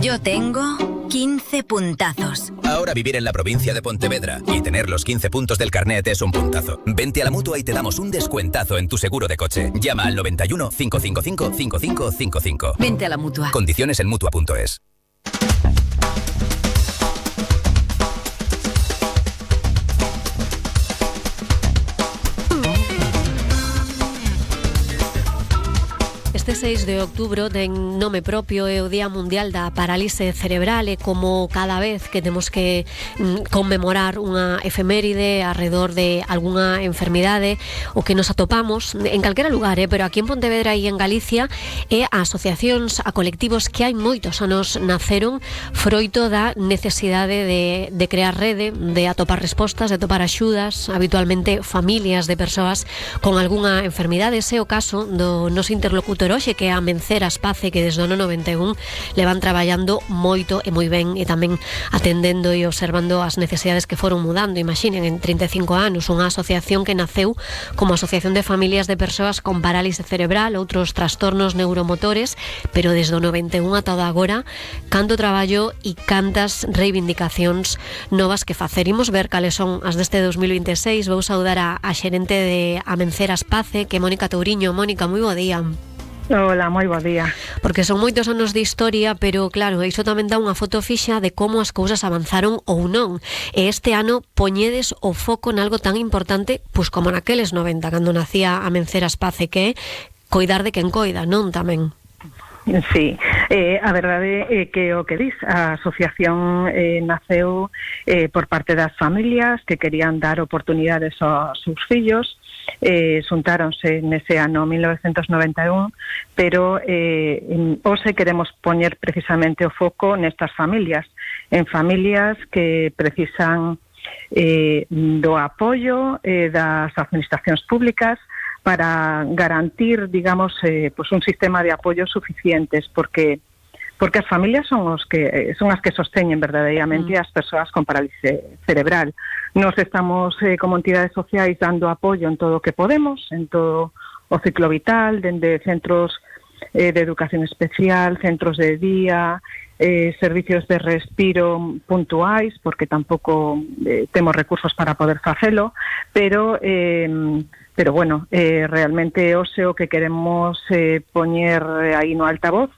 Yo tengo 15 puntazos. Ahora vivir en la provincia de Pontevedra y tener los 15 puntos del carnet es un puntazo. Vente a la Mutua y te damos un descuentazo en tu seguro de coche. Llama al 91 555 5555. Vente a la Mutua. Condiciones en Mutua.es. Este 6 de outubro ten nome propio, é o Día Mundial da Parálise Cerebral, e como cada vez que temos que conmemorar unha efeméride arredor de algunha enfermidade o que nos atopamos en calquera lugar, pero aquí en Pontevedra e en Galicia, é a asociacións, a colectivos que hai moitos anos naceron froito da necesidade de crear rede, de atopar respostas, de atopar axudas, habitualmente familias de persoas con algunha enfermidade. Ese é o caso do noso interlocutor hoxe, que é a Amencer Aspace, que desde o ano 91 levan traballando moito e moi ben, e tamén atendendo e observando as necesidades que foron mudando. Imaginen, en 35 anos, unha asociación que naceu como asociación de familias de persoas con parálise cerebral, outros trastornos neuromotores, pero desde o 91 ata agora, canto traballo e cantas reivindicacións novas que facer. Imos ver cales son as deste 2026. Vou saudar a xerente de Amencer Aspace, que é Mónica Touriño. Mónica, moi bo día. Hola, moi bo día. Porque son moitos anos de historia, pero claro, iso tamén dá unha foto fixa de como as cousas avanzaron ou non. E este ano poñedes o foco nalgo tan importante, pois como naqueles 90, cando nacía Amencer Aspace, que é coidar de quen coida, non tamén? Sí, a verdade é que o que dis, a asociación naceu por parte das familias que querían dar oportunidades aos seus fillos. Xuntáronse nese ano 1991, pero hoxe queremos poñer precisamente o foco nestas familias, en familias que precisan do apoio das administracións públicas para garantir, digamos, pues un sistema de apoio suficientes, porque as familias son as que sosteñen verdadeiramente as persoas con parálisis cerebral. Nos estamos como entidades sociais dando apoio en todo o que podemos, en todo o ciclo vital, dende centros de educación especial, centros de día, servicios de respiro puntuais, porque tampouco temos recursos para poder facelo, pero bueno, realmente hoxe o que queremos poñer aí no altavoz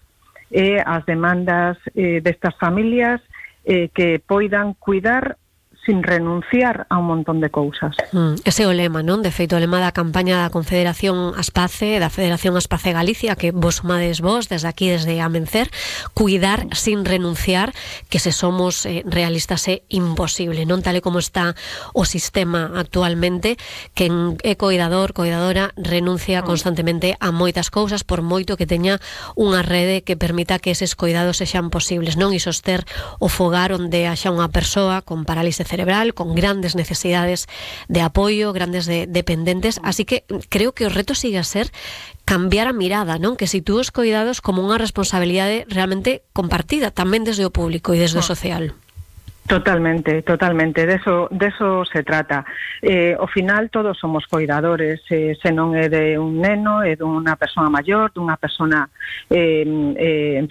e as demandas destas familias que poidan cuidar sin renunciar a un montón de cousas. Ese é o lema, non? De feito, o lema da campaña da Confederación Aspace, da Federación Aspace Galicia, que vos sumades vos, desde aquí, desde Amencer, cuidar sin renunciar, que se somos realistas é imposible, non? Tal e como está o sistema actualmente, que é coidador, coidadora, renuncia constantemente a moitas cousas, por moito que teña unha rede que permita que eses coidados sexan posibles, non? E soster o fogar onde haxa unha persoa con parálise cerebral, con grandes necesidades de apoio, grandes dependentes, así que creo que o reto sigue a ser cambiar a mirada, non? Que sitúe os coidados como unha responsabilidade realmente compartida, tamén desde o público e desde o social. Totalmente, de eso se trata. Ao final todos somos coidadores, se non é de un neno, é dunha persoa maior, dunha persona enferma,